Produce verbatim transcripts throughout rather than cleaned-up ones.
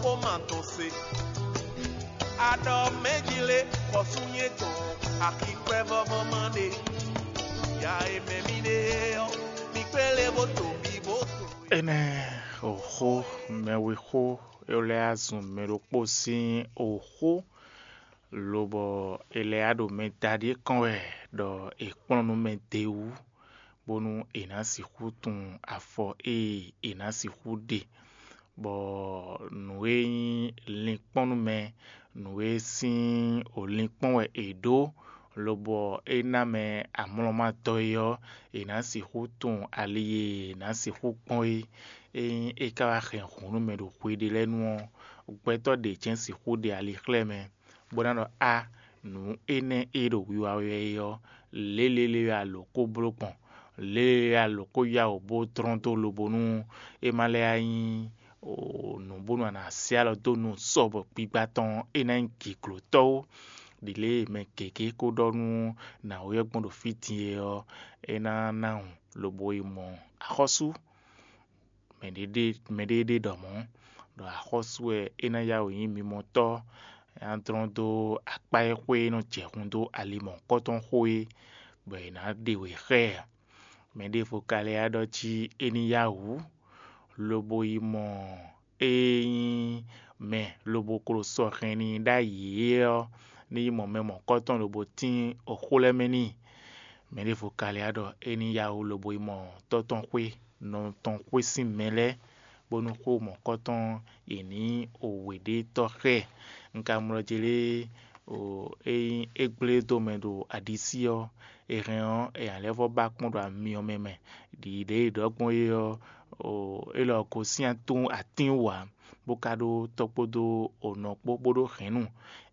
Xó ma tɔn se. Aɖɔ mɛ̌ jí lé xɔsú nyɛ tɔn, axi kwɛ́ vɔvɔ ma ɖe. Ya e mɛ mi ɖe ɔ́, mi kpé lé bó to mi bó to. Énɛ́ òxó mɛwexó lɛ́ɛ azun mɛ ɖokpó sín òxó, lobɔ è lɛ́ ɖo mɛ da ɖíe kɔn wɛ ɖɔ è kplɔ́n nú mɛ d'é wú, bónú è nǎ sixú tunwun afɔ e è nǎ sixú ɖe, bɔ nǔ e nyí linkpɔ́n nú mɛ, nǔ e sín linkpɔ́n wɛ è ɖǒ, lobɔ é ná mɛ amlɔmatɔ́ é ɔ́, è nǎ sixú tunwun ali e è nǎ sixú kpɔ́n é. Ényí é ka wá hɛn hǔn nú mɛ ɖo xwe ɖé lɛ́ɛ nu ɔ́, gbɛtɔ́ ɖě jɛ́n sixú ɖe ali xlɛ́ mɛ, bó ná ɖɔ: Á, nǔ énɛ́ e ɖo wiwa wɛ é ɔ́, lělélé wɛ a lǒ kó bló gbɔn, lělélé wɛ a lǒ kó yá wǔ bó dlɔ́n dó lobo nú é ma lɛ́ nyí nǔ bónú a nǎ sɛ́ alɔ dó nú sɔ́ bɔ gbigba tɔn é ná nyí gǐglǒtɔ́ ó. Ɖi lě e mɛ gěgé ko ɖɔ nú nǎwe ɔ́ gbɔn ɖo fí din é ɔ́, é ná ná wǔ lobo yi mɔ axɔ́sú. Mɛɖé ɖe ɖɔ mɔ̌, ɖɔ axɔ́sú wɛ é ná yá wǔ nyí mimɔtɔ́, é ná dlɔ́n dó akpá e xwé e nɔ jɛ hun dó ali mɔ̌hunkɔtɔn xó é, bɔ è nǎ ɖe wě xá ɛ. Mɛ ɖěvo ka lɛ́ ɖɔ jí é ní yá wǔ, lobo yi mɔ e nyí mɛ lobo klo sɔ hɛn n'i ɖ'ayǐ é ɔ́, ní yi mɔ mɛ mɔ̌hunkɔtɔn lobo tín oxó lɛ́ɛ mɛ n'i. Mɛ ɖěvo ka lɛ́ ɖɔ é ní yá wǔ lobo yi mɔ tɔ́ tɔn xwé, nɔ tɔn xwé sín mɛ lɛ́ɛ, bónú xó mɔ̌hunkɔtɔn yě ní wěɖétɔ́ xá ɛ. Un ka mlɔ́ jlé é nyí é gblé dó mɛ ɖo aɖisí ɔ́, è hɛn ɔ́, è nǎ lɛ́ vɔ́ ba kpɔ́n ɖo amyɔ mɛ mɛ. Ɖiɖě e ɖɔ gbɔn é ɔ́, é lɔ gosín atín wǎ, bó ka ɖó tɔ́ kpódó nɔ kpó bó ɖó hɛ̌nnu.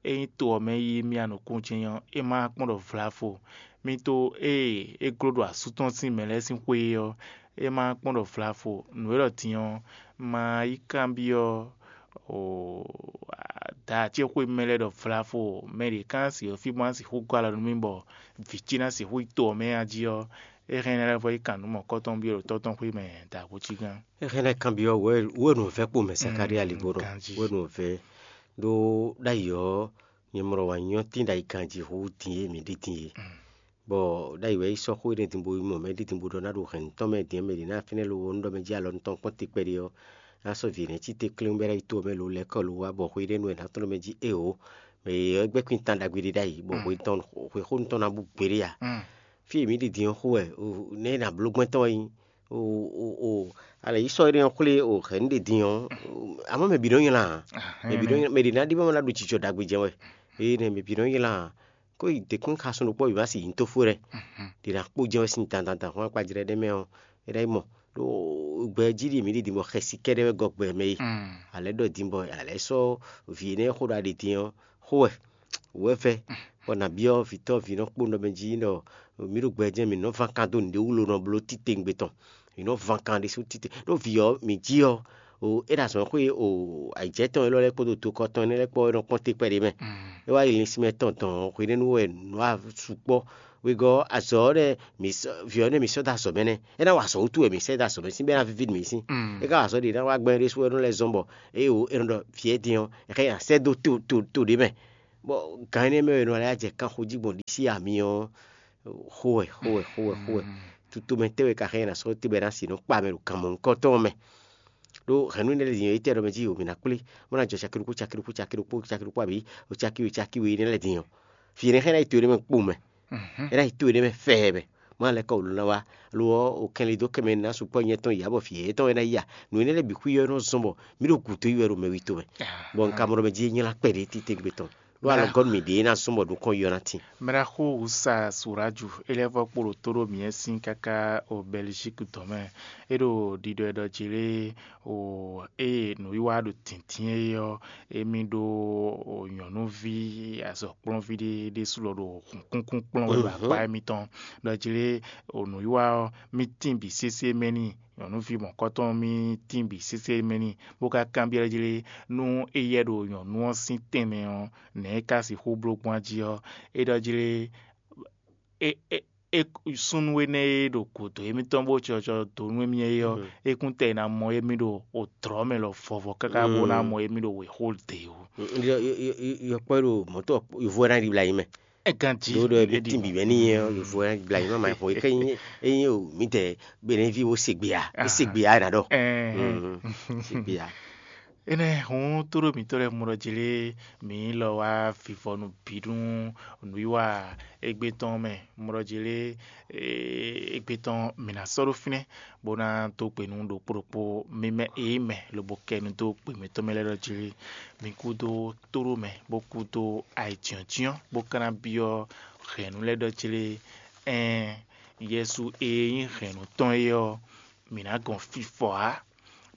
Ényí to ɔ́ mɛ yí mì anukúnjɛ́n ɔ́, é ma kpɔ́n ɖɔ vlavo. Mì to ée é gló ɖo asú tɔn sín mɛ lɛ́ɛ sín xwé é ɔ́, é ma kpɔ́n ɖɔ vlavo. Nǔ e ɖɔ din ɔ́, ma yi kanbyɔ́ da ce xwé mɛ lɛ́ɛ ɖɔ vlavo, mɛ ɖě ká ná sixú fí bó ná sixú gɔ́ alɔ nú mì bɔ vǐ ce ná sixú yi to ɔ́ mɛ a jí ɔ́, é hɛn ná lɛ́ vɔ yi kan nǔ mɔ̌kɔtɔn byɔ́ ɖo tɔ́ tɔn xwé mɛ da gǒ cí gán. É hɛn lɛ́ kanbyɔ́ wɛ wɛ nǔ vɛ́ kpo mɛ Zakalía ligbo nɔ wɛ nǔ vɛ́ ɖó ɖ'ayǐ ɔ́, nyɛ mlɔ wǎ nyɔ́ tín ɖ'ayǐ ganjí hú din e mǐ ɖi din e. Bɔ ɖ'ayǐ wɛ yi sɔ́ xó énɛ́ din bo yi mɔ mɛ ɖi din bo ɖɔ ná ɖo hɛ̌nnu tɔn mɛ din ɔ́, mɛ ɖě ná fínɛ́ lo ɔ́, nú ɖɔ mɛ jí alɔ nú tɔn kpɔ́n te kpɛɖé ɔ́, ná sɔ́ vǐ nɛ́ cí te kléwún bɔ é ná yi to ɔ́ mɛ lo lɛ́ kɔ lo wá bɔ xwe ɖé nú ɛ ná tɔ́n ɖɔ mɛ jí éeǒ. Mɛ e ɔ́ gbɛ́ kwín tán ɖagbe ɖé ɖ'ayǐ, bɔ hwe tɔn hwe xó tɔn ná bú gbeɖé a? Fí e mǐ ɖi din ɔ́ xó wɛ, nɛ́ ná bló gbɛ́ tɔn wɛ nyí. O o o, alɛ yi sɔ́ énɛ́ ɔ́ xwlé o hɛ̌nnu ɖe din ɔ́, amɔ̌ mɛ bǐ nɔ nylá ǎ. Mɛ bǐ nɔ nylá, mɛ ɖě ná ɖi bɔ ná ɖo jijɔ ɖagbe jɛ wɛ. Ée nɛ mɛ bǐ nɔ nylá ǎ. Kó yi dě kún xasun ɖokpó bǐ ma si nyǐ tó fó ɖɛ. Ɖě ná kpó jɛ wɛ sín dandan dan xwán kpajlɛ́ ɖé mɛ ɔ́, é ná yi mɔ. Ɖó gbɛ jí ɖi mǐ ɖi din bɔ xɛsi kɛ́ɖɛ́ wɛ gɔ́ gbɛ mɛ yi. Alɛ ɖɔ din bɔ alɛ sɔ́ vǐ énɛ́ xó ɖo aɖi din ɔ́, xó wɛ wǔ wɛ vɛ́, bɔ nǎ byɔ́ vǐ tɔn vǐ nɔ kpó nɔ mɛ jí ɖɔ mǐ ɖo gbɛ jɛ́n mǐ nɔ ván kan dó nǔɖé wú lo nɔ bló titewungbe tɔn. Mǐ nɔ ván kan ɖésú tite ɖó vǐ ɔ́ mǐ jí ɔ́, o é ɖo azɔ̌ xwé o ayǐjɛ tɔn élɔ́ lɛ́ɛ kpódó dokɔ tɔn énɛ́ lɛ́ɛ kpó ɔ́ é nɔ kpɔ́n te kpɛɖé mɛ. É wá yi linsin mɛ tɔn dɔn hwenɛ́nu wɛ nǔ wa sukpɔ́. Wegɔ́ azɔ̌ ɔ́ nɛ́ mǐ sɔ́ vǐ ɔ́ nɛ́ mǐ sɔ́ dó azɔ̌ mɛ nɛ́, é ná wa azɔ̌ wútu wɛ mǐ sɛ́ dó azɔ̌ mɛ sín bɔ é ná víví nǔ mǐ sín. É ka wa azɔ̌ ɖě ná wá gbɛn ɖésú wɛ nɔ lɛ́ zɔ́n bɔ é o é nɔ ɖɔ vǐ ɛ din ɔ́, è xá nyi asɛ́ dó to to to ɖě mɛ. Bɔ gan énɛ́ mɛ e è nɔ lɛ́ jɛ kanxo jí gbɔn ɖisí ami ɔ́, xó wɛ xó wɛ xó wɛ xó wɛ. Tutomɛ tɛ́ wɛ ka xá nyɛ ná sɔ́ tɛ́ bɔ é ná si nǔ kpa mɛ ɖo gan mɔ̌hunkɔtɔn mɛ. Ɖó hɛ̌nnu énɛ́ lɛ́ɛ din ɔ́, étɛ́ ɖɔ mɛ jí o mǐ ná kplé, bó ná jɔ caki ɖokpó caki ɖokpó caki ɖokpó caki ɖokpó abǐ o caki we caki we énɛ́ lɛ́ɛ din ɔ́, fí énɛ́ xá ná yi to énɛ́ mɛ kpowun mɛ. É ná yi to énɛ́ mɛ fɛɛ mɛ. Má lɛ́ kɔ wǔ lɔ ná wá, lo ɔ́, o kɛnlin dó kɛmɛ ná sukpɔ́ nyɛ tɔn yǎ bɔ fǐ yɛ́yɛ́ tɔn wɛ ná yi a? Nǔ énɛ́ lɛ́ɛ bǐ xwí ɔ́ é nɔ zɔ́n bɔ mí ɖo gǔdo yi wɛ ɖo mɛ wi tomɛ. Bɔ un ka mɔ ɖɔ mɛ jí é nylá kpɛɖé titewungbe tɔn. Ɖó alɔgɔ́ nú mǐ ɖě ná zɔ́n bɔ nukɔn yɔ ná tin. Mɛɖaxó Wusa Suraju é lɛ́ vɔ́ kpo ɖo tó ɖó mǐ sín káká o Bɛlizíki dɔ̌n mɛ. É ɖo ɖiɖɔ ɛ ɖɔ jí lé o ée nǔwiwa ɖo dǐndín é ɔ́, émí ɖó nyɔ̌nuví azɔ̌kplɔ́nví ɖé ɖésú lɔ ɖo hǔnkúnkún kplɔ́n wɛ ɖo akpá émítɔn. Ɖɔ jí lé o nǔwiwa ɔ́, mí tín bǐ sésé mɛ n'i. Nyɔ̌nuví mɔ̌kɔtɔn mí tín bǐ sésé mɛ n'i, bó ka kanbyɔ́ jí lé nú éyɛ́ ɖo nyɔ̌nu ɔ́ sín tɛnmɛ ɔ́, nɛ̌ é ka sixú bló gbɔn jí ɔ́, é ɖɔ jí lé é é é súnnu énɛ́ e ɖo gǔdo émítɔn bó cɔcɔ dó nú émí é ɔ́, é kún tɛ ná mɔ émí ɖo odlɔ̌ mɛ lɔ vɔvɔ káká bó ná mɔ émí ɖo wěxo dě ó. Yɔkpɔ́ ɖo mɔ̌tɔ yovo ɛ ná ɖibla yi mɛ. É ganjí Ɖo ɖɔ ebe tín bǐbɛ́ ní nyɛ ɔ́, yovo ɛ ná ɖibla yi mɛ ma xɔ é ké nyí é nyí o mǐdɛɛ bɛnɛví wo se gbe a é se gbe a é ná ɖɔ se gbe a. Énɛ́ hǔn tóɖó mǐtɔn lɛ́ɛ mɔ ɖɔ jlé mǐ lɔ wá vivɔnu bǐ nú nǔwiwa égbé tɔn mɛ. Mɔ ɖɔ jlé égbé tɔn mǐ ná sɔ́ ɖó fínɛ́ bó ná dó gbe nú ɖokpó ɖokpó mì mɛ èyí mɛ lobo kɛ nu dó gbe mǐtɔn mɛ lɛ́ɛ ɖɔ jlé mǐ kúdó tóɖó mɛ bó kúdó ayǐjínjɔ́n bó ka ná byɔ́ hɛ̌nnu lɛ́ɛ ɖɔ jlé ɛn Yɛsu e nyí hɛ̌nnu tɔn é ɔ́, mǐ ná gɔn fifɔ ǎ.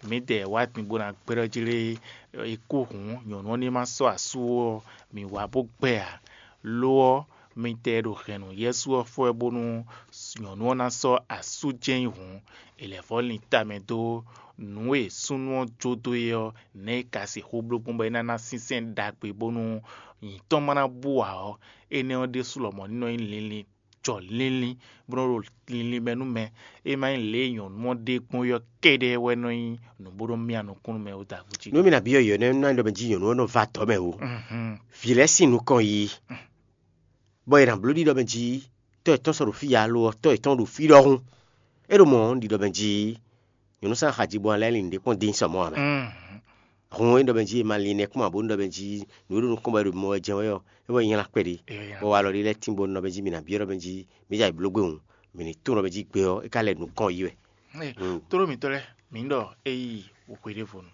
Mǐdɛɛ wá din bó ná gbɛ́ ɖɔ jlé é kú hǔn nyɔ̌nu ɔ́ ní ma sɔ́ asú ó ɔ́, mǐ wá bó gbɛ ǎ. Lo ɔ́, mi tɛ ɖo hɛ̌nnu Yɛsu ɔ́ fɔ wɛ bónú nyɔ̌nu ɔ́ ná sɔ́ asú jɛ́n nyi hǔn, è lɛ̌ vɔ́ lin tamɛ dó nǔ e súnnu ɔ́ jó dó é ɔ́, nɛ̌ è ka sixú bló gbɔn bɔ é ná ná sínsɛ́n ɖagbe bónú nyǐ tɔn ma ná bú ǎ ɔ́, énɛ́ ɔ́ ɖésú lɔmɔ̌ ní nɔ nyí linlin jɔ linlin bó nɔ́ ɖo linlin mɛ nú mɛ. É má nyí lě e nyɔ̌nu ɔ́ ɖe gbɔn ɔ́ kɛ́ɖɛ́ wɛ nɔ nyí nǔ bó nɔ́ myá nukúnnú mɛ ó da gújí. Nú mi nǎ byɔ́ yɔ nɛ́ nú ná ɖɔ mɛ jí nyɔ̌nu ɔ́ nɔ va tɔ̌ mɛ o. Vǐ lɛ́ɛ sín nukɔn yi, bɔ è nǎ bló ɖiɖɔ mɛ jí tɔ́ yětɔn sɔ́ ɖo fí ǎ lo ɔ́, tɔ́ yětɔn ɖo fí ɖɔhun. É ɖo mɔ̌ ɖiɖɔ mɛ jí nyɔ̌nu sín axajigbɔn lɛ́ɛ lin ɖě kpɔ́n dín sɔ mɔ̌ ǎ mɛ. Hǔn é ɖɔ mɛ jí è ma lin nɛ́ kpɔ́n ǎ bónú ɖɔ mɛ jí nǔ e ɖo nukɔn bɔ è ɖo mɔ wɛ jɛ́n wɛ ɔ́, é wɛ nylá kpɛɖé. Bɔ walɔ ɖé lɛ́ɛ tínbɔ́ nú ɖɔ mɛ jí mǐ ná byɔ́ ɖɔ mɛ jí mǐ jɛ ayǐ bló gbé hǔn, mǐ ní tunwun ɖɔ mɛ jí gbe ɔ́, é ka lɛ nǔ kɔn yí wɛ. Tlóló mǐtɔn lɛ́ɛ, mǐ ɖɔ é yi hweɖévonu.